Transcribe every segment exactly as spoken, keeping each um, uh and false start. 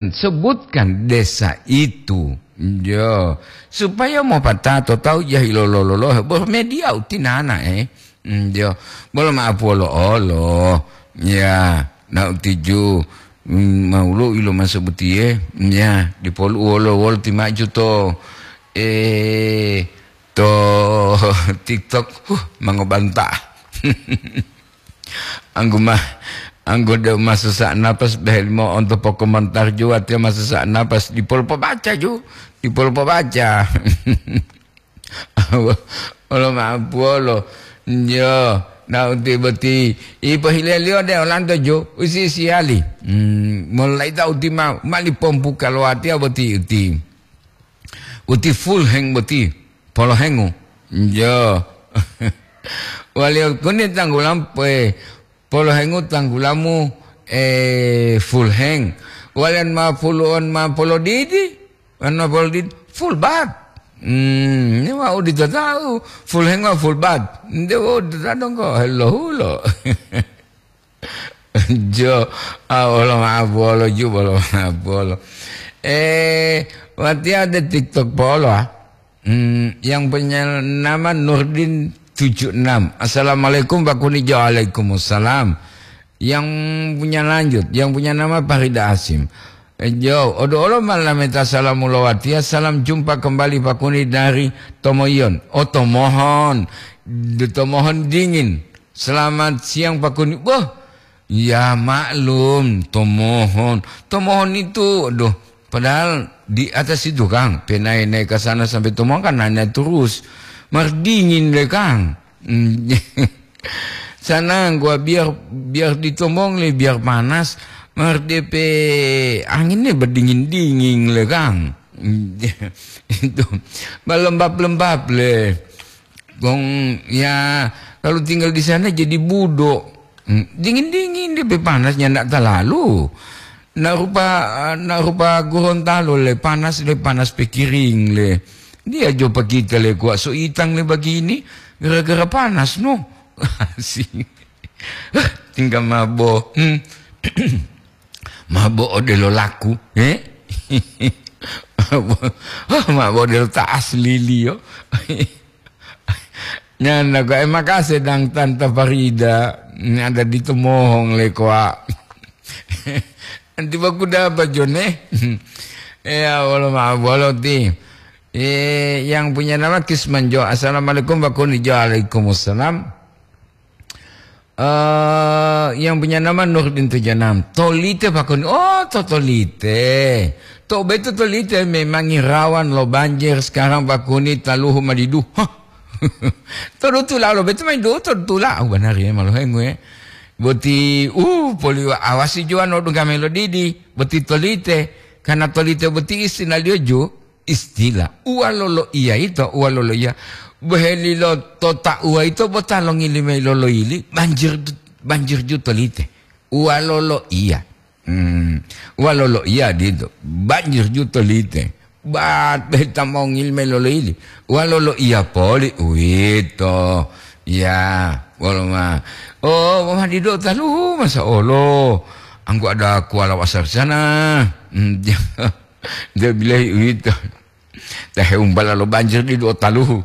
Sebutkan desa itu. Yo, supaya mopatato tawu jahilo lololohe, bo media utinana, eh. Mm, yo, bolo ma'apu olo-olo. Ya, na utiju, mm, maulu ilo maso butiye. Ya, dipolu wolo-wolo timaju to, eh, to TikTok, huh, mangobanta. Anggu ma, anggu de masusa napas behelimo onto pokomontar ju, watiya masusa napas dipol pobaca ju, dipol pobaca. Olo ma'apuwolo. Yo, na uti boti, ipohileliyo de olanto ju, usi siyali. Hmm, molaita uti ma, mali pompuka lo watiya boti uti. Uti full hang boti, polohengu. Jo. Waliyo kuni tanggulam, eh, polohengu tanggulamu, eh, full hang. Waliyan ma pulu'on ma polodidi, wan ma polodidi, full bat. Hmm, ini wau ditatau, full hang wa full bat. Nde wau ditatau dongko, hulo-hulo. Jo, ah, bolo ma'apuwolo ju, bolo ma'apuwolo. Eh, watiya de TikTok polo, ah. Hmm, yang punya nama Nurdin tujuh enam. "Assalamualaikum, Pak Kuni." Jo, waalaikumsalam. Yang punya lanjut, yang punya nama Farida Asim. Eh, jo, odo olo malameta salamu lo watiya, salam jumpa kembali Pak Kuni dari Tomoyon. Oh, Tomohon. De Tomohon dingin. "Selamat siang, Pak Kuni." Wah, ya maklum, Tomohon. Tomohon itu, aduh, padahal di atas itu, Kang, penae-nae ke sana sampai Tomohon kan nanya terus. Mar dingin deh, Kang. Hmm. Sana gua biar, biar di Tomohon le, biar panas, mar depe anginnya berdingin-dingin le, Kang. Hmm. Itu, berlembab-lembab le. Wong, ya, kalau tinggal di sana jadi budo. Hmm, dingin-dingin dia, be panasnya ndak terlalu. Nak rupa, nak rupa Gorontalo le, panas le, panas pekiring le. Dia jo pakita le kuat so itang le begini, gara-gara panas, no. Asing. Tinggal mabo. Hmm. Mabo odelo laku, eh? Mabo, mabo odelo ta asli liyo. Nyanda kok, eh, makase dang Tanta Farida, ini ada di Tomohon le koa. Nanti baku dapat jone. Ya, wolo ma-, wolo ti. Eh, yang punya nama Kisman Jo. "Assalamualaikum, Pak Kuni." Jo, waalaikumsalam. Eh, yang punya nama Nurdin tujuh enam. Tolite, Pak Kuni. Oh, to Tolite. To beto Tolite memang rawan lo banjir sekarang, Pak Kuni, taluhu madidu. Hah? Todutula lo beto main do todutula. Oh, benar ya, malu hengu ya. Boti, uh, poli awasi juwa no dunggame lo didi. Boti Tolite. Karena Tolite boti istilah liyo ju. Istilah uwalolo iya yito, uwalolo iya. Bohelilo to tauwa yito bo ta longili mayi loloyili, banjir, banjir ju Tolite. Uwalolo iya. Hmm. Uwalolo iya dito, banjir ju Tolite. Bat be ta mongili mayi loloyili. Uwalolo iya poli uwito. Ya, wolo ma. Oh, mama dido taluhu masa olo. Anggu ada kuala wasar sana. Hmm. Nte bilahi uwito. Ta heumbala lo banjir didu o taluhu.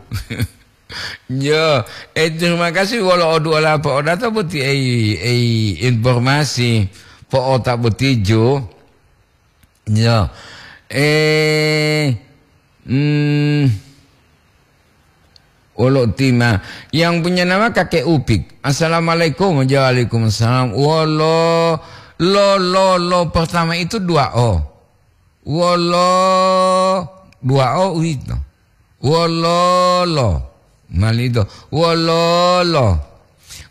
Yo, eh, terima kasih wolo oduola po'odata boti ei, ei informasi po'ota boti jo. Yo. Eh, hmm, wolo tima. Yang punya nama Kakek Upik. "Assalamualaikum." Waalaikumsalam. Wolo, lo, lo, lo pertama itu dua O. Wolo, dua O uwito. Wololo. Malido. Wololo.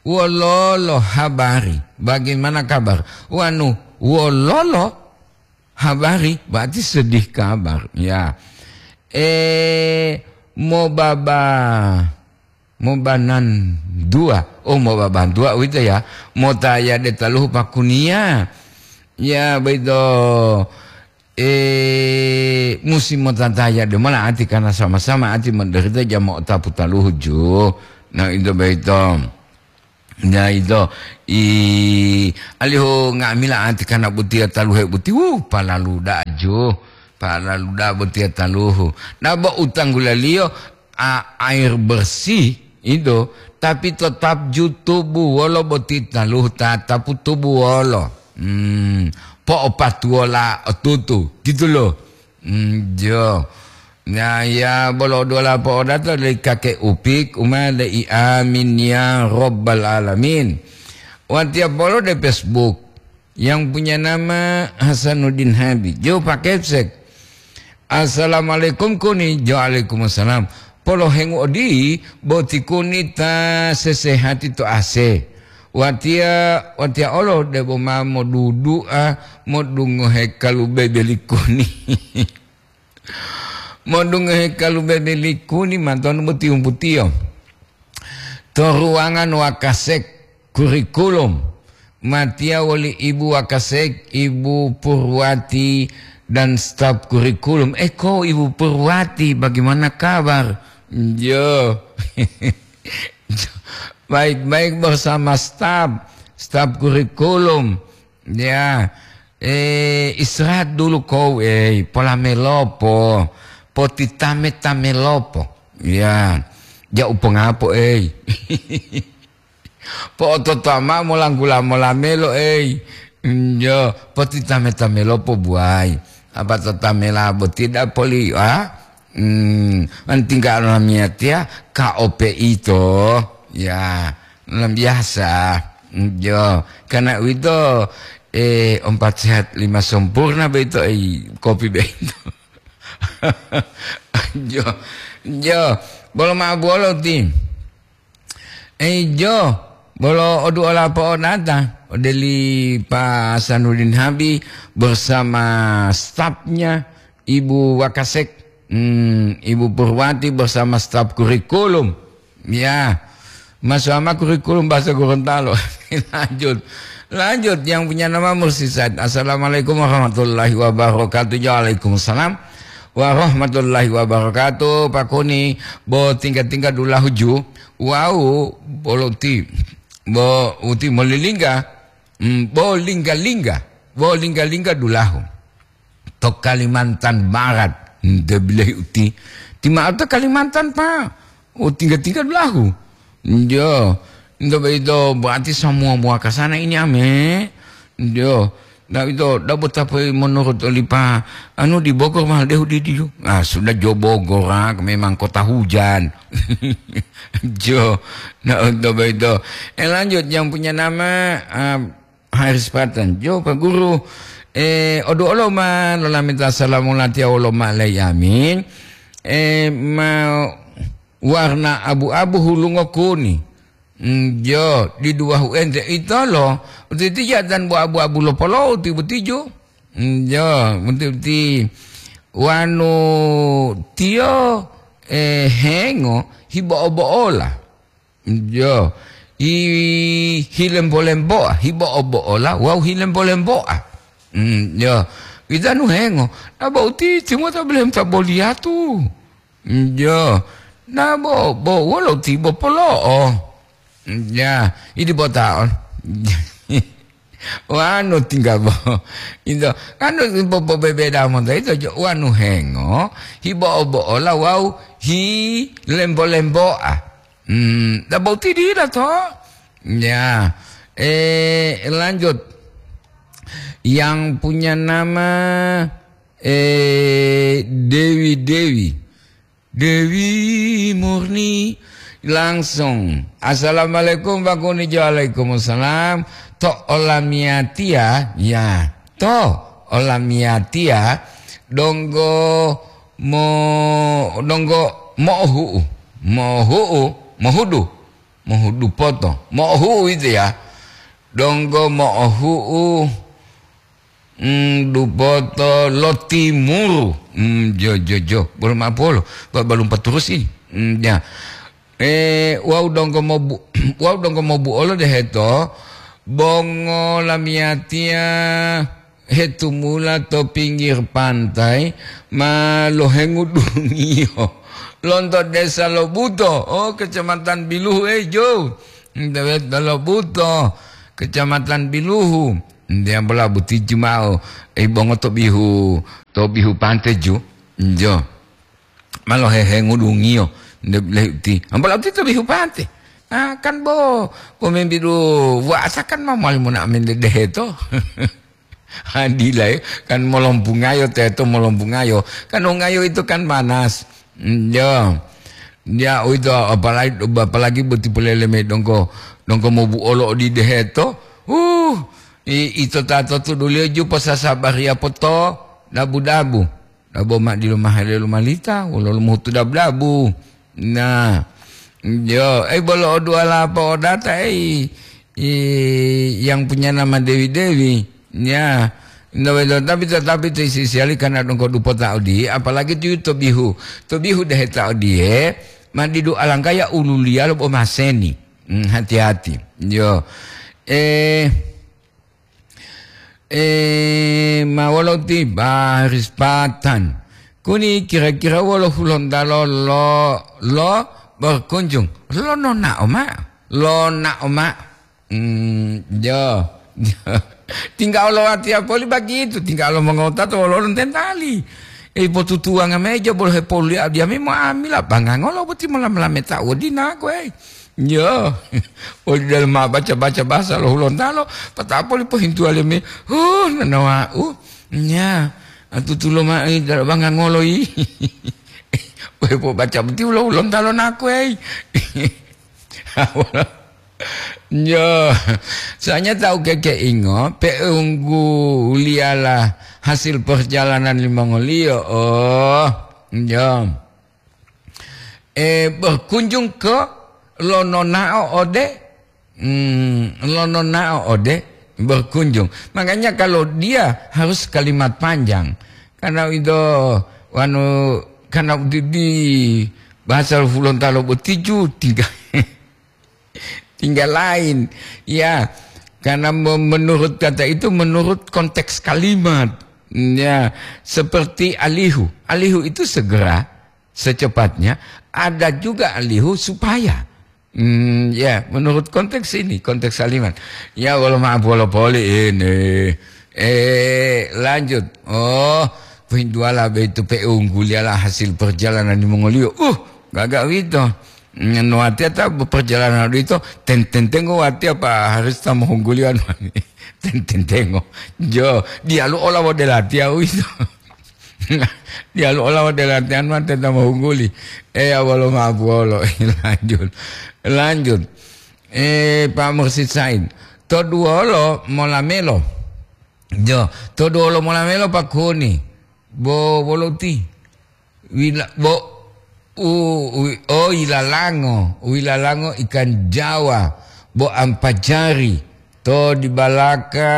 Wololo habari. Bagaimana kabar? Wanu, wololo habari, berarti sedih kabar. Ya. Eh, mobaba. Mobanan dua. Oh, mobaban dua uwito ya. Motaya de taluhu pakuniya. Ya, boyito, eh, musi motataya de mola ati karena sama-sama ati menderita jama otapu taluhu ju. Nah, itu boyito. Ya ito, i alihu nga'amila anti kana botiya taluhe boti, wu, palalu da'a jo, palalu da'a botiya taluhu. Na bo utanggulaliyo a, air bersih ito, tapi tetap ju tubu wolo boti taluhu tatapu tubu wolo. Hmm, po'opatuwola otutu, gitu loh. Hmm, jo. Ya, ya, bolo dola po'odato dari kakek Upik, uma dari amin ya robbal alamin. Watiya polo de Facebook yang punya nama Hasanuddin Habib. Jo Pak Kepsek. Assalamualaikum kuni. Jo alaikumsalam. Polo hengu odi boti kuni ta sesehati to ase. Watiya, watiya olo debo ma modudu'a modungohe kalu bebeli kuni. Modungohe kalu bebe likuni matonu boti umputiyo. To ruangan Wakasek kurikulum. Matiya woli Ibu Wakasek, Ibu Purwati, dan staf kurikulum. Eh, kok Ibu Purwati, bagaimana kabar? Yo. Baik-baik bersama staf, staf kurikulum. Ya, eh, istirahat dulu kau, eh, pola melopo, potitame-tame lopo. Ya, ja upongapo, eh. Po'ototoa mao molanggula mola melo, eh. Njo, potitame-tame lopo buai. Apa totamela bo tidak poli, ah? Hmm, antingga lamiyatiya ka ope ito. Ya, luar biasa. Njo, karena uwito, eh, empat sehat lima sempurna beito, eh, kopi beito. Jo, jo, bolo ma'o buwolo ti. Eh, jo, bolo oduola po'onata, odeli Pak Hasanuddin Habi bersama stafnya, Ibu Wakasek, hmm, Ibu Purwati bersama staf kurikulum. Ya, Mas Wama kurikulum bahasa Gorontalo. Lanjut. Lanjut, yang punya nama Mursi Said. Assalamualaikum warahmatullahi wabarakatuh. Waalaikumsalam warahmatullahi wabarakatuh. Pak Kuni, bo tingga-tingga dulahu ju. Wau, bolo uti, bo uti molilingga. Hmm, bo lingga-lingga. Bo lingga-lingga dulahu. To Kalimantan Barat, nte bilahi uti. Ti ma'o to Kalimantan, Pak. Oh, tingga-tingga dulahu. Njo. Nto boyito berarti semua mua ke sana ini ame. Njo. Nah, itu dapat tapi menurut oli Pak, anu di Bogor mahal deh di, di. Ah, sudah jo Bogor, ah, memang kota hujan. Jo. Nah, untuk boyito. Eh, lanjut, yang punya nama, ah, Haris Patan, jo Pak Guru, eh, odu olo ma lolameta salamu latiya wolo ma lei amin. Eh, ma warna abu-abu hulungo kuni. Mm, jo, di duwahu ente itolo, utiti jatan bo abu-abu lo polou ti butijo. Mm, jo, uti-uti wanu tiyo, eh, hengo hibo-obo'ola. Jo, i hilembo-lemboa, hibo'o-bo'ola wawu hilembo-lemboa. Mm, jo, itanu hengo, na bo utiti mota belem ta boliyatu. Mm, jo, na bo, bo wolo tibo polo'o. Mm, ja, idi bota'o. Wanu tingga bo. Ito, anu popobebeda monto ito jo, wanu hengo, hibo'o-bo'ola wawu hilembo-lemboa. Hmm, ta boti dila to? Ya, eh, lanjut. Yang punya nama, eh, Dewi Dewi. Dewi Murni langsung. Assalamualaikum, Pak Kunijo. Waalaikumsalam. To olamiyatiya, ya. To olamiyatiya, donggo mo-, donggo mo'ohu'u. Mo'ohu'u, mohudu. Mohudu poto. Mo'ohu'u itu ya. Donggo mo'ohu'u, mm, dupoto lo timuru. Mm, jo, jo, jo. Bolo ma'o polo. Ba-, balum paturus ini. Mm, ya. Eh, wau donggo mobu-, wau donggo mobuolo deheto, bongo lamiyatiya hetumula to pinggir pantai, ma lohengu dungiyo. Lonto Desa Lobuto, oh, Kecamatan Biluhu, eh, jo. Ndewe Dolobuto, Kecamatan Biluhu. Ndewe bola butiju ma'o, e, bongo to bihu, to bihu pante ju. Njo. Malo hehe ngudungiyo, nde lehuti. Ambola uti to bihu pante. Ah, kan bo, pomembidu wasa kan ma mali mona amende deheto. Adila, ya, kan molombungayo teto molombungayo. Kan ongayo itu kan panas. Mm, ya. Ya, itu apalagi, apalagi boti polele me dongko, dongko mobu olo di deheto. Uh, i-, ito tato tuduliyo ju posasabariya poto dabu-dabu. Dabo ma dilo mahale lomalita, wolo lomuhutu dabu-dabu. Nah, yo, eh, bolo o duala po'odata, eh, i-, yang punya nama Dewi-Dewi. Ya, nda wedo, tapi tetapi ti sisiali karena dongko dupota odiye, apalagi tu to bihu. To bihu deheta odiye, ma didu alangkaya ululiya lo bo maseni. Hmm, hati-hati. Yo. Eh, Eh, ma wolo ti baris patan. Kuni kira-kira wolo Hulontalo lo, lo berkunjung? Lo nonao ma? Lo nao ma? Hmm, yo. Tinggal lo watiya poli begitu, tinggal lo mongota to wolo lontentali. Eh, potutuwanga meja bolo hepoli adiami mo amila bangangolo boti molam-lameta wodina kowe. Yo, oli dalu ma baca-baca bahasa lo Hulontalo, pata'o poli pohintuwa leme, huh, nanawa'u, nya, atutulo ma'i dalu banga ngolo yi. Wepo baca boti lo Hulontalo naku, ei. Yo, soalnya tahu keke ingo, peungguliyalah hasil perjalanan limongoliyo, oh, yo. Eh, berkunjung ke lo nonao ode, hmm, lo nonao ode berkunjung. Makanya kalau dia harus kalimat panjang. Karena itu, anu, karena di, di bahasa Hulontalo botiju tinggal, tinggal lain. Ya, karena me-, menurut kata itu, menurut konteks kalimat. Ya, seperti alihu. Alihu itu segera, secepatnya, ada juga alihu supaya. Hmm, ya, menurut konteks ini, konteks kalimat. Ya, wolo maaf, wolo poli ini. Eh, lanjut. Oh, pinduala begitu pe unggul ialah hasil perjalanan di Mongoliyo. Uh, gaga wito. Nuatia ta perjalanan itu, ten-, tentengo watia pa harus ta mohunggulian. Ten-, tentengo. Jo, dialu ola wode latia wito. Diyalu ola wode latihan ma teta mohungguli. Eh, awalo mabuwolo. Lanjut. Lanjut. Eh, Pak Mursid Said. Toduwolo molamelo. Jo, toduwolo molamelo Pak Kuni. Bo wolo ti. Wila, bo, u, wi-, oh, ilalango. Wilalango ikan Jawa. Bo ampajari. To dibalaka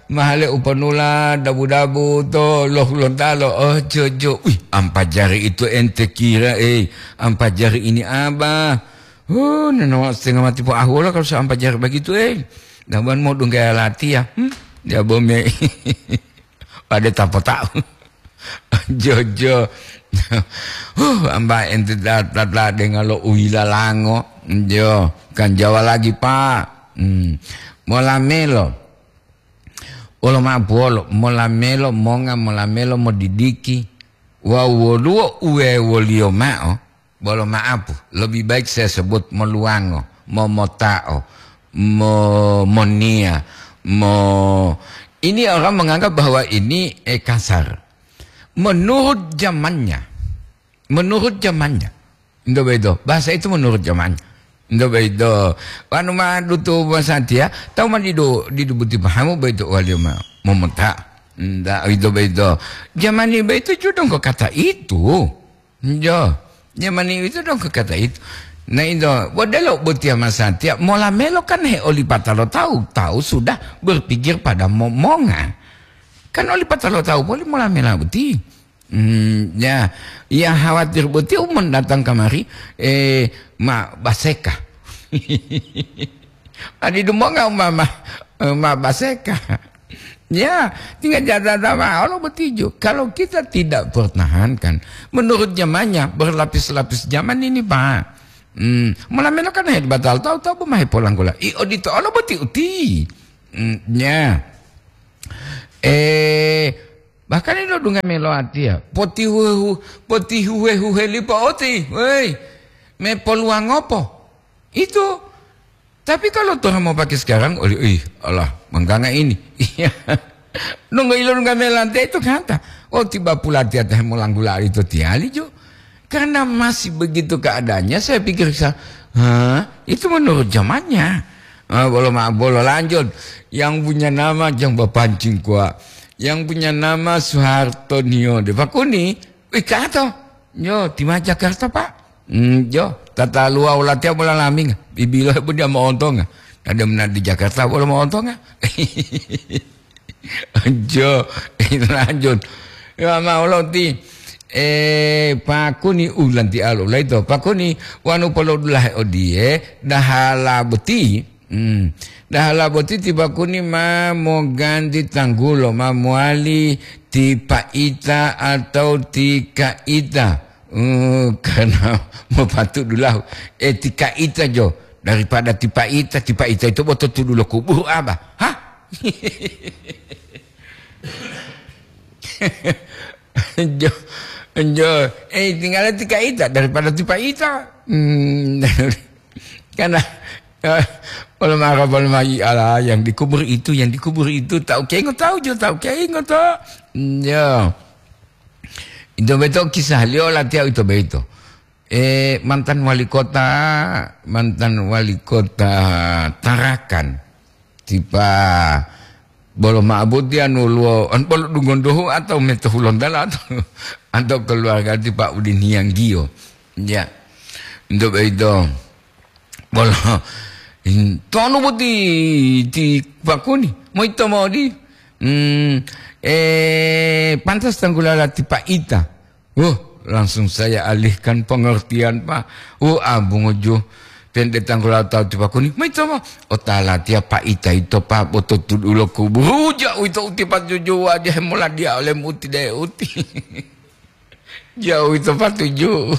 mahale upanula dabu-dabu to lo Hulontalo. Oh, jojo. Wih, ampajari itu ente kira, eh. Ampajari ini apa? Oh, nanawa setengah mati po ahuola kalau seampajari begitu, eh. Dabuan mau dungga latiya. Hmm? Dia bome. Pada tapota'u. Jojo. Huh, amba ente da-, da-, da-, dengalo uwila lango. Jo, kan Jawa lagi, Pak. Hmm. Molamelo. Wolo ma'o buwolo, molamelo monga, molamelo modidiki. Wawu woluwo uwewoliyo ma'o. Bolo ma'apu, lebih baik saya sebut moluwango, momota'o, mo-, moniya, mo-, ini orang menganggap bahwa ini, eh, kasar. Menurut zamannya, menurut zamannya, ndo bedo, bahasa itu menurut zamannya. Ndo bedo, wanu ma dutu masatiya, tahu ma didu, didu buti pahamu bedo waliyo ma, momota. Nda, ndo bedo. Zaman ini bedo juga dong kata itu. Jo, nyamani itu dong kata itu. Nah, itu, bodelo botiya masatiya, mola melo kan he oli patalo tahu, tahu sudah berpikir pada momonga. Kan oli patalo tahu poli mola mela boti. Hmm, ya, yang khawatir boti umon datang kamari, eh, ma baseka. Adi dumonga umama, eh, ma baseka. Ya, tinggal jadada ma'o lo betijo. Kalau kita tidak pertahankan, menurut zamannya, berlapis-lapis zaman ini, Pak. Hmm, mola melo kan hebatal tawu-tawu boma hepolanggola. I odito olo boti uti. Hmm, nya. Eh, bahkan ilo dunga melo atiya. Potihuhu-, potihuhe-huhe lipo oti. Woi, me poluwangopo. Itu. Tapi kalau Tuhan mau pakai sekarang, oh, ih, Allah, mengganga ini. Iya. Nunggu ilo nunggu melante itu kata. Oh, tiba pula tiata molanggula itu tiali jo. Karena masih begitu keadaannya, saya pikir sa-, hah, itu menurut zamannya. Ah, bolo ma-, bolo lanjut. Yang punya nama Jang Bapancing Kua. Yang punya nama Soeharto Nio de Pakuni. Wih, kato. Yo, tima Jakarta, Pak. Hmm, yo, tata luwa ulatiya bola laming. Bibilo pun dia mau ontonga. Ada mena di Jakarta bola mau ontonga. Jo, lanjut. Ya, mau lo ti. Eh, Pakuni ulanti alo laito. Pakuni wanu polodulah odie, dahala boti. Hmm. Dahala boti ti Pakuni ma moganti tanggulo, ma mowali ti Paita atau ti Kaita. Hmm, karena mopatu dulahu. Eh, ti Kaita jo. Daripada ti Paita, ti Paita itu boto tudulo kuburu aba. Hah? Jo, jo, eh, tinggal ti Kaita daripada ti Paita. Hmm, karena, eh, ulama Arab, ulama ala yang dikubur itu, yang dikubur itu, tahu kengo tahu jo, tahu kengo to. Ya. Itu betul kisah liyo latihan itu betul. Eh, mantan wali kota, mantan wali kota Tarakan. Tipa bolo ma'abuti anu luo, an bolo dungondohu atau meto Hulontala atau, atau keluarga ti Pak Udin Hianggio. Ya. Untuk itu, bolo, in-, tonu boti ti Pakuni, moito modi. Hmm, eh, pantas tanggulala ti Paita. Uh, langsung saya alihkan pengertian, Pak. Uh, abunguju. Tende tanggulala tahu ti Pakuni. Moito mo. Otala tiya Paita ito, Pak. Boto tudulo kuburu. Jauh ito uti patuju. Wajah mola dia oleh muti de uti. Jauh ito patuju.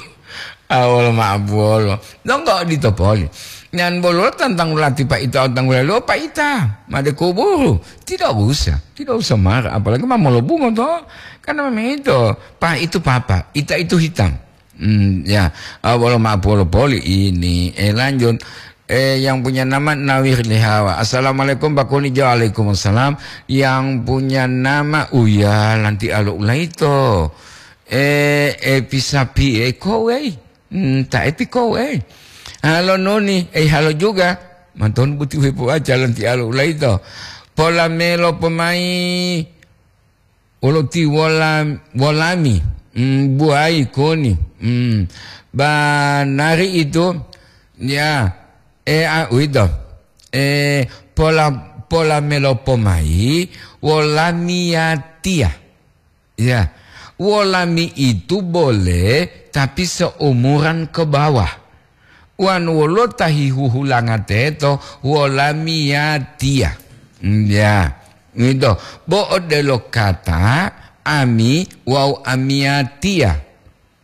Awal ma'abuwolo. Donggo dito poli. Nyan bolo tantang ulati Paita, tantang ulalo Paita. Made kuburu. Tidak usah. Tidak usah marah. Apalagi ma molobungo to. Karena memang itu. Pa itu papa. Ita itu hitam. Hmm, ya. Ah, bolo ma'apuwolo poli ini. Eh, lanjut. Eh, yang punya nama Nawir Lihawa. Assalamualaikum, Pak Kuni. Waalaikumsalam. Yang punya nama Uya Lanti Alo Ulaito. Eh, eh, pisapi, eh, kowei. Hmm, ta epi kowei. Halo noni, eh, halo juga. Manton buti wepo aja Lanti Alo Ulaito. Pola melo pomai. Wolo ti wola-, wolami, mm, buwayi koni, mm, banari itu, ya, e, a, uwito, e, pola, pola melopo mayi, wolamiyatiya, ya, wolami itu boleh, tapi seumuran ke bawah. Wonu wolo ta hihuhulanga teto, wolamiyatiya. Ya, ngito. Bo odelo kata ami wawu amiyatiya.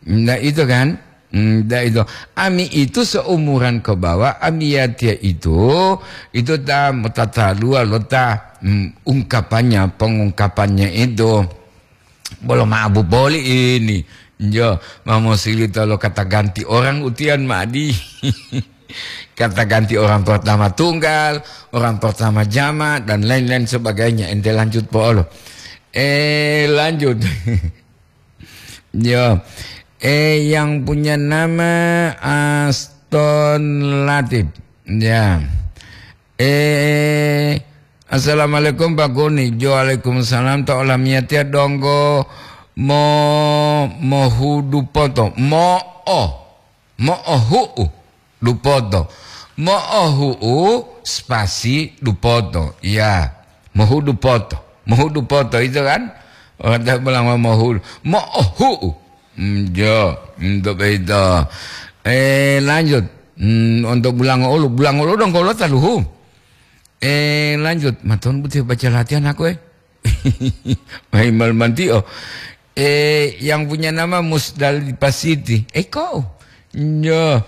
Nda itu kan? Nda itu. Ami itu seumuran ke bawah, amiyatiya itu, itu ta motataluwa lo ta, mm, ungkapannya, pengungkapannya itu. Bolo ma'abu boli ini. Jo, mamosilito lo kata ganti orang utian ma'adi. Kata ganti orang pertama tunggal, orang pertama jama, dan lain-lain sebagainya. Ente lanjut po'olo. Eh, lanjut. Jo. Eh, yang punya nama Aston Latif. Ya. Eh, assalamualaikum, Pak Goni. Jo, waalaikumsalam. To olamiyatiya donggo mo-, mohudu poto. Mo'o. Mo'ohu'u. Dupoto. Mo'ohu'u spasi dupoto. Ya. Mohudu poto. Mohudu poto itu kan? Orang tak bilang mo'ohudu. Mo'ohu'u. Hmm, jo. Untuk itu. Eh, lanjut. Hmm, untuk bulang ulu. Bulang ulu dong kalau taluhu. Eh, lanjut. Maton putih baca latihan aku, eh. Main malam nanti, oh. Eh, yang punya nama Musdalifah Siti. Eh, kau? Nyo.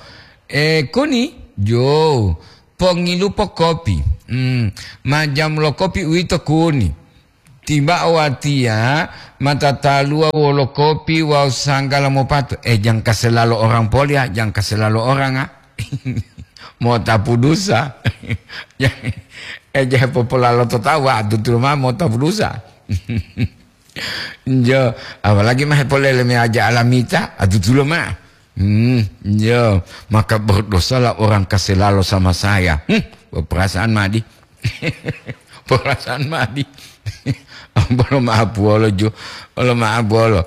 E, kuni, jo, pongilupo kopi. Hmm, ma jamu lo kopi uwito kuni. Tiba watiya ma tataluwa wolo kopi wawu sanggala mopatu. E, jangka selalo orang poli, a, jangka selalo orang, a. Motapu dusa. E, je popolalo to tawa, tutulo ma motapu dusa. Jo, apalagi ma hepolele me aja alamita, a, tutulo ma. Hmm, jo, maka berdosalah orang kaselalo sama saya. Hmm, perasaan madi. Perasaan madi. Bolo maapuwolo jo, bolo maapuwolo.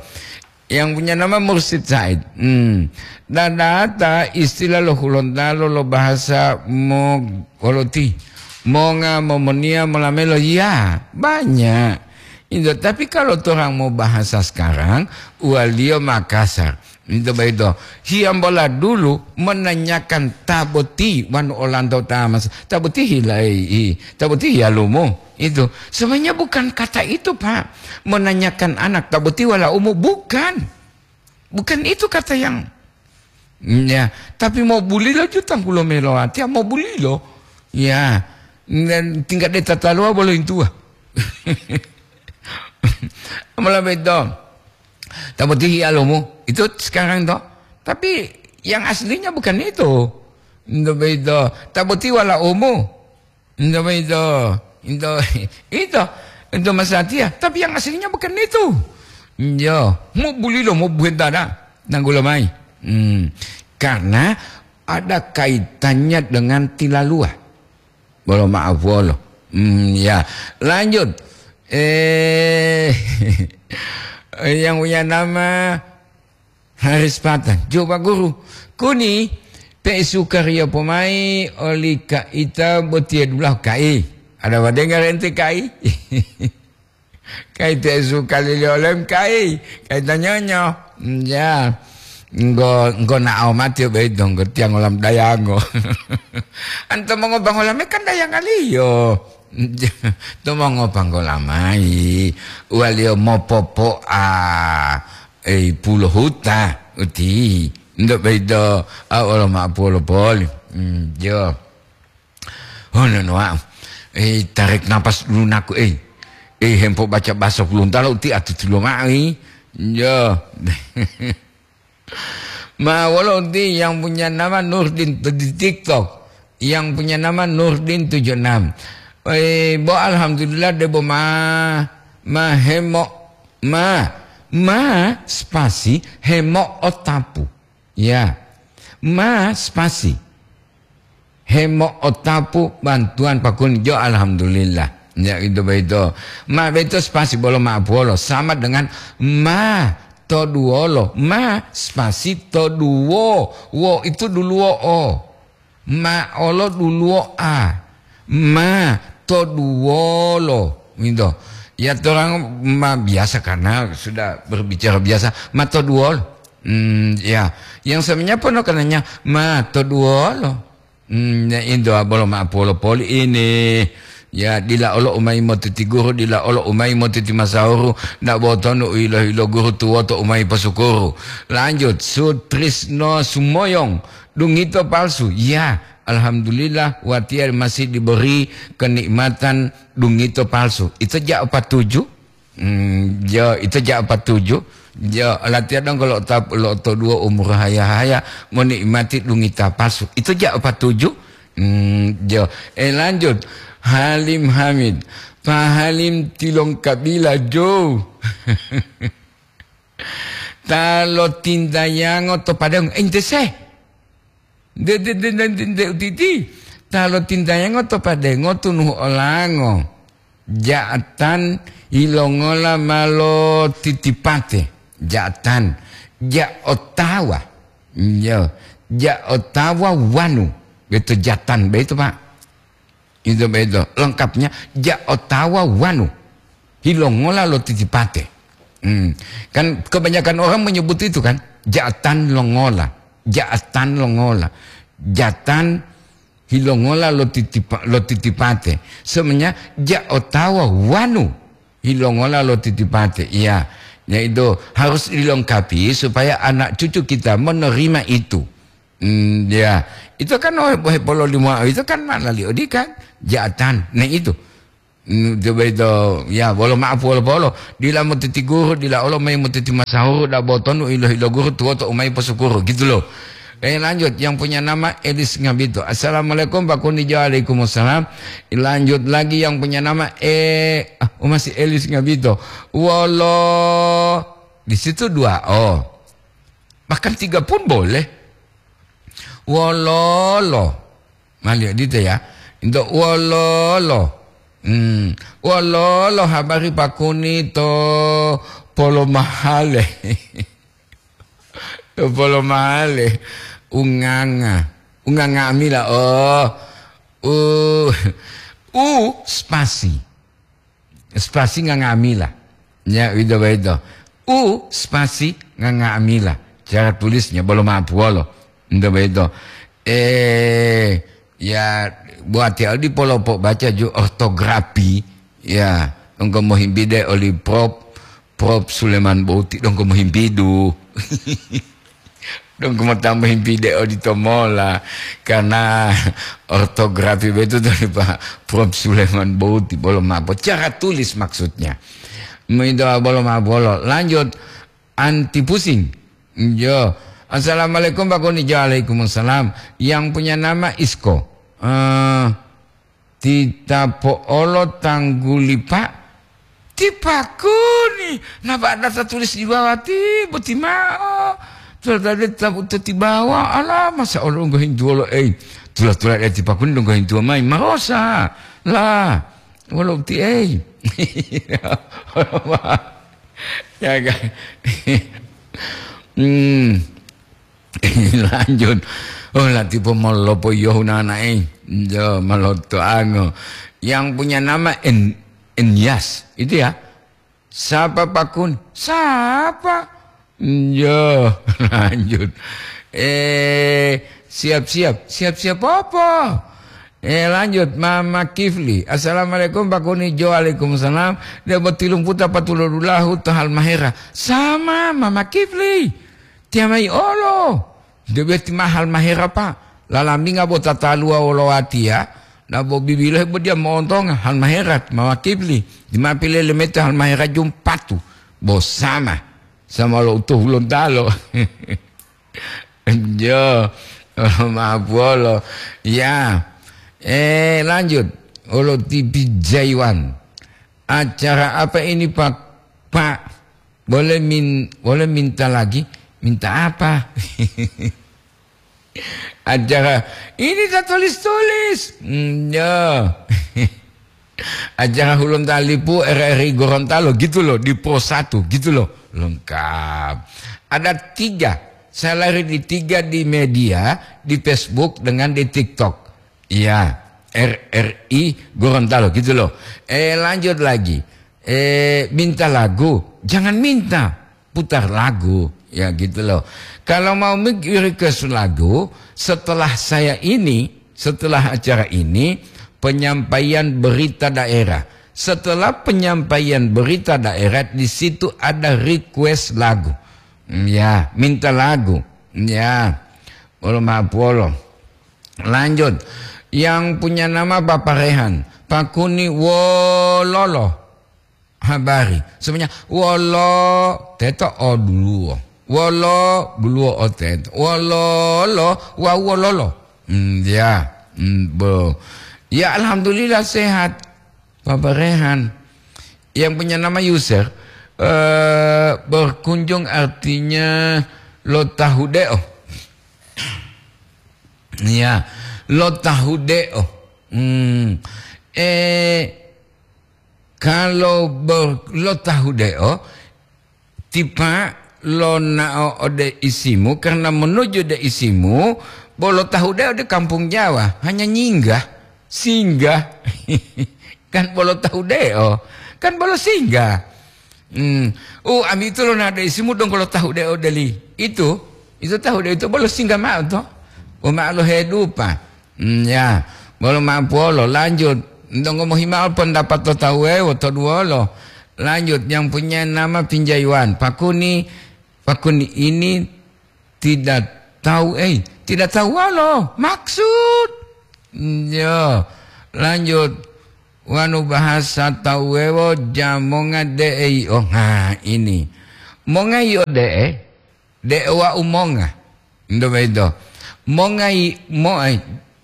Yang punya nama Mursid Said. Hmm. Dadata istilah lo Hulontalo lo bahasa mo-, koloti. Monga, momonia, molamelo. Ya, banyak. Itu, tapi kalau orang mau bahasa sekarang, uwaliyo Makassar. Itu begitu. Hiyambola dulu menanyakan ta boti wanu olanto ta mas. Ta boti hilai, i, ta boti hiyalumu. Itu. Sebenarnya bukan kata itu, Pak. Menanyakan anak ta boti wala umu, bukan. Bukan itu kata yang, ya, tapi mau bulilo jutang kulo melo ati, mau bulilo. Ya. Dan tingkat deta talua bolo intua. Amala beto. Ta boti hiyalumu. Itu sekarang to. Tapi yang aslinya bukan itu. Itu begitu. Ta boti wala umu. Itu begitu. Itu, itu, itu masatiya. Tapi yang aslinya bukan itu. Yo, mau bulilo, mau buhentana. Nanggulo mai. Hmm. Karena ada kaitannya dengan tilalua. Bolo maaf wolo. Hmm, ya. Lanjut. Eh, yang punya nama Haris Patang. Coba guru. Kuni, pe suka ria pomai oli kaita botiya dulahu kai. Ada wadengar ente kai? Kai te suka lili olem kai. Kai tanyonyo. Ya. Enggo, enggo na'o mati beito, enggo tiang olam dayango. Anto mongo bangolame kan dayangaliyo. To mongo panggolamai. Waliyo mopopo'a. Ei, pulo huta, uti. Ndo baido, a, olo ma'o pulo poli. Hmm, jo. Oh, no, no, ah. Eh, tarik napas dulu naku, eh. Eh, hempo baca bahasa Hulontalo uti atutulo ma'o, eh. Jo. Ma, wolo uti yang punya nama Nurdin di TikTok. Yang punya nama Nurdin tujuh enam. Eh, bo alhamdulillah debo ma, ma hemo, ma, ma spasi hemo otapu. Ya. Ma spasi. Hemo otapu bantuan pakun jo alhamdulillah. Ya, itu beito. Ma beito spasi bolo ma puolo sama dengan ma to duolo. Ma spasi to duo. Wo itu duluo o. Ma olo duluo a. Ma to duolo. Gitu. Ya, orang ma biasa karena sudah berbicara biasa. Ma to duolo. Hmm, ya. Yang sebenarnya pun kenanya ma to duolo. Hmm, ya, indo abolo ma polo poli ini. Ya, dila olo umai motiti guru, dila olo umai motiti masahuru, ndak botonu ilo-ilo guru tuwoto umai posukuru. Lanjut, Sutrisno Sumoyong, dungito palsu. Ya, alhamdulillah, watiya masih diberi kenikmatan dungito palsu. Itu ja empat tujuh. Hmm, jo, itu ja empat tujuh. Jo, latihan dong kalau tap-, lo to dua umur haya-haya, menikmati dungita palsu. Itu ja empat tujuh. Hmm, jo. Eh, lanjut. Halim Hamid. Pak Halim tilong kabila, jo. Ta lo tintayango to padang. Ente se. De, de, de, de, de, de, utiti. Ta lo tintayango to padengo tunuhu olango. Ja'atan ilongola ma lo titipate. Ja'atan. Ja otawa. Yo. Ja otawa wanu. Beto jatan beto, Pak. Itu beto. Lengkapnya ja otawa wanu. Hilongola lo titipate. Hmm. Kan kebanyakan orang menyebut itu kan. Jatan longola. Jatan longola. Jatan hilongola lo titipa-, lo titipate. Sebenarnya ja otawa wanu hilongola lo titipate. Iya. Ya itu harus dilengkapi supaya anak cucu kita menerima itu. Mm, ya. Itu kan oh, bohe polo limo itu kan mana li odi kan? Jatan. Nah itu. Mm, coba itu, ya, bolo maaf, bolo, bolo. Dila motiti guru, dila olo mai motiti masahuru, da botonu ilo-ilo guru, tuwoto umai posukuru, gitu loh. Eh, lanjut, yang punya nama Elis Ngabito. "Assalamualaikum, Pak Kuni." "Waalaikumsalam." Lanjut lagi yang punya nama, eh, ah, oh, masih Elis Ngabito. Wolo, di situ dua O. Bahkan tiga pun boleh. Wololo. Maliyo dito ya. Into wololo. Hmm. Wololo habari Pak Kuni to Polomahale. To Polomahale. Unganga. Unganga amila. Oh. U. U spasi. Spasi ngangamila. Ya, wito boyito. U spasi ngangamila. Cara tulisnya bolo mapuwolo. Nto boyito. Eh, ya, buat ya, di polopo baca ju ortografi. Ya, engko mohimbide oli Prof, Prof Suleman Bouti, dongko mohimbidu. Dong, ku motambahi pide odito mola, karena ortografi betu dari Pak Prof Suleman Bouti, bolo mapo. Cara tulis maksudnya. Itu bolo mapo, bolo. Lanjut, anti pusing. Yo. "Assalamualaikum, Pak Kuni." "Waalaikumsalam." Yang punya nama Isko. Eh, Tita po'olo tangguli, Pak? Ti Pak Kuni, napa data tulis di bawah ti boti mao? Tula tadi tabu teti bawah, ala masa olo ngohintuwolo ei. Tula-tula eti Pak Kuni donggo hintuwa mai, marosa. Lah, wolo ti ei. Ya, kan? Hmm. Lanjut. Oh, latipo molopo yohu nanae. Jo, maloto ango. Yang punya nama En-, Enyas, itu ya. Sapa Pakun? Sapa? Jo, lanjut. Eh, siap-siap. Siap-siap apa? Eh, lanjut, Mama Kifli. "Assalamualaikum, Pak Kuni." "Jo, waalaikumsalam." Dia botilung puta patulur dulahu to Halmahera. "Sama, Mama Kifli." Tiamai olo, debe ti mahal mahera, Pak. Lalaminga bo tataluwa wolo watiya, na bo bibilohe bo dia mo'ontonga hal mahera, mawa kibli. Di ma pilele mete hal mahera jumpatu, bo sama. Sama lo utuh Hulontalo. Jo, maaf wolo. Ya. Eh, lanjut. Olo T V Jaiwan. Acara apa ini, Pak? Pak, boleh min-, boleh minta lagi? Minta apa? Acara ini tak tulis-tulis. Hmm, ya. Acara Hulun Talipu R R I Gorontalo gitu loh, di Pro satu gitu loh. Lengkap. Ada tiga. Saya lari di tiga di media, di Facebook dengan di TikTok. Iya, R R I Gorontalo gitu loh. Eh, lanjut lagi. Eh, minta lagu, jangan minta, putar lagu, ya gitu loh. Kalau mau mik-, request lagu, setelah saya ini, setelah acara ini, penyampaian berita daerah. Setelah penyampaian berita daerah, di situ ada request lagu. Hmm, ya, minta lagu. Ya, bolo maaf wolo. Lanjut. Yang punya nama Bapak Rehan. Pakuni wololo habari. Semuanya wolo teto o duluwo. Wolo duluwo o teto. Wololo wa wololo. Hmm, ya. Hmm, bo. Ya, alhamdulillah sehat. Bapak Rehan. Yang punya nama user, eh, berkunjung artinya lo tahu deh, oh. Iya, lo tahu deh, oh. Hmm. Eh, kalau ber-, lo tahu deh, oh, tipa lo nao ode isimu, karena menuju ode isimu, bolo tahu deh ode kampung Jawa, hanya nyinggah, singgah. Kan bolo tahu deh, oh. Kan bolo singgah. Hmm. Oh, ami itu lo nade isimu dong kalau tahu de odeli. Itu, itu tahu de itu bolo singgah mao to. Oh, ma'alo hedupa. Hmm, ya. Bolo ma'apolo, lanjut. Donggo mohimao pendapat to tahu ewo to duolo. Lanjut, yang punya nama Pinjaiwan. Pakuni, Pakuni ini tidak tahu, eh. tidak tahu wolo maksud. Yo, lanjut. Wanu bahasa tawu wuwewo jamonga de'e yi'o. Ha, ini. Monga yi'o de'e, de'e wa'u monga. Ndo begitu. Monga yi-, mo-, eh,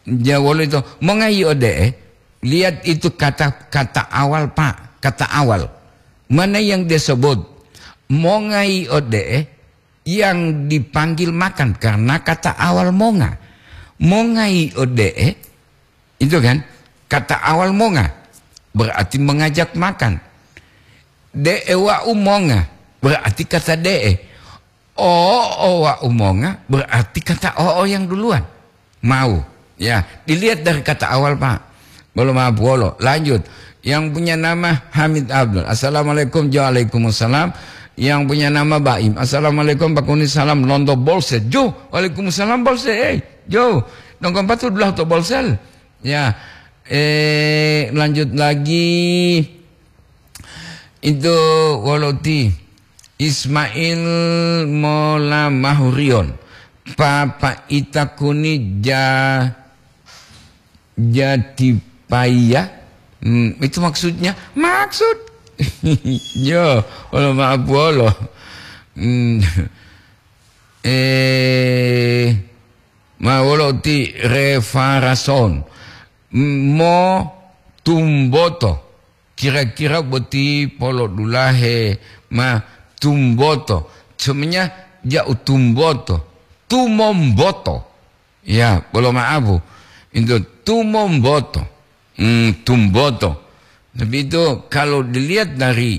ja wolo ito, monga yi'o de'e, lihat itu kata, kata awal, Pak, kata awal. Mana yang dia sebut? Monga yi'o de'e, yang dipanggil makan karena kata awal monga. Monga yi'o de'e, itu kan, kata awal monga, berarti mengajak makan. De'e wa'u monga, berarti kata de'e. O'o wa'u monga, berarti kata o'o yang duluan. Mau. Ya, dilihat dari kata awal, Pak. Belum apa, wolo. Lanjut. Yang punya nama Hamid Abdul. Assalamualaikum. Jo, waalaikumsalam. Yang punya nama Baim. Assalamualaikum, Pak Kuni. Salam lonto Bolse. Jo, waalaikumsalam, Bolse. Eh, jo. Dongko empat tu dulah to Bolsel. Ya. Eh, lanjut lagi. Itu wolo ti Ismail Mola Mahurion. Papa ita kuni ja-, jatipaiya. Hmm, itu maksudnya? Maksud. Yo, wolo maaf wolo. Hmm. Eh, ma wolo ti refarason. Mo tumboto. Kira-kira boti polodulahe ma tumboto. Sebenarnya ja'u tumboto. Tumomboto. Ya, bolo ma'abu. Itu tumomboto. Hmm, tumboto. Tapi itu kalau dilihat dari,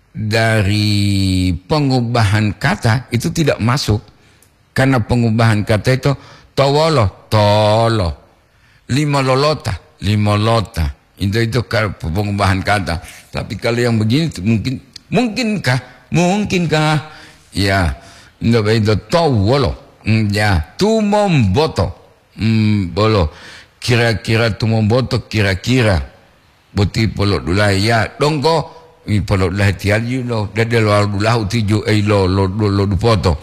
dari pengubahan kata, itu tidak masuk. Karena pengubahan kata itu towolo, tolo. Limololota, limolota. Itu, itu kalau pengubahan kata. Tapi kalau yang begini itu mungkin, mungkinkah? Mungkinkah? Ya, ndak begitu. Towolo. Hmm, ya, tumomboto. Hmm, bolo. Kira-kira tumomboto, kira-kira. Boti polodulahe ya, dongko, i polodulahe tiyali lo, dede lo dulahu tiju, ei, lo, lo, lo, lo dupoto.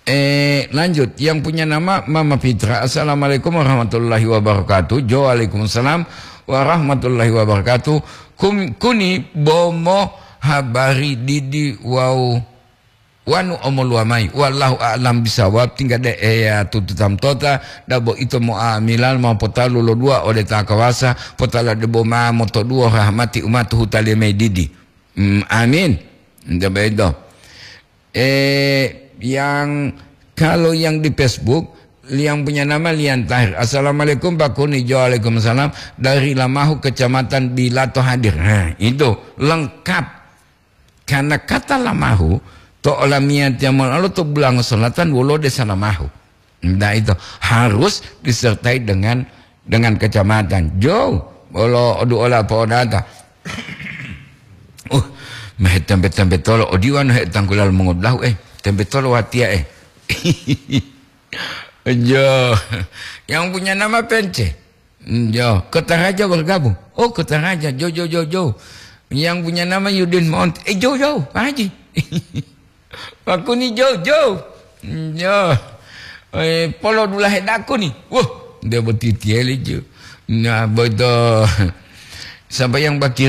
Eh, lanjut, yang punya nama Mama Fitra. Assalamualaikum warahmatullahi wabarakatuh. Jo, waalaikumsalam warahmatullahi wabarakatuh. Kum-, kuni bomo habari didi wau wanu omoluwa mayi. Wallahu a'lam bisawab. Tingga de eya tututam tota, dabo ito mo'amilal ma potalu lo dua ode ta kawasa, potala debo ma motoduwo rahmati umatuhu taliye mayi didi. Hmm, amin. Nte bedo. Eh, yang, kalau yang di Facebook, yang punya nama Lian Tahir. Assalamualaikum, Pak Kuni. Jo, waalaikumsalam. Dari Lamahu, Kecamatan Bilato hadir. Nah, itu lengkap. Karena kata Lamahu, to olamiyatiya molalo to Bulango Selatan, wolo desa Lamahu. Nah, itu harus disertai dengan, dengan kecamatan. Jo, wolo odu ola po'odata. Uh, mehe tempe-tempe tolo, odiwanu he tangkulal mongodlahu, eh, tempe tolo watiya, eh. Jo, yang punya nama Pence. Hmm, jo, Kota Raja bergabung. Oh, Kota Raja, jo, jo, jo, jo. Yang punya nama Yudin Mount. Eh, jo, jo, Pak Haji. Pak Kuni, jo, jo. Hmm, jo. Eh, polo dulahe daku nih. Wah, dia botitieli, jo. Nah, bodo. Sampai yang bakir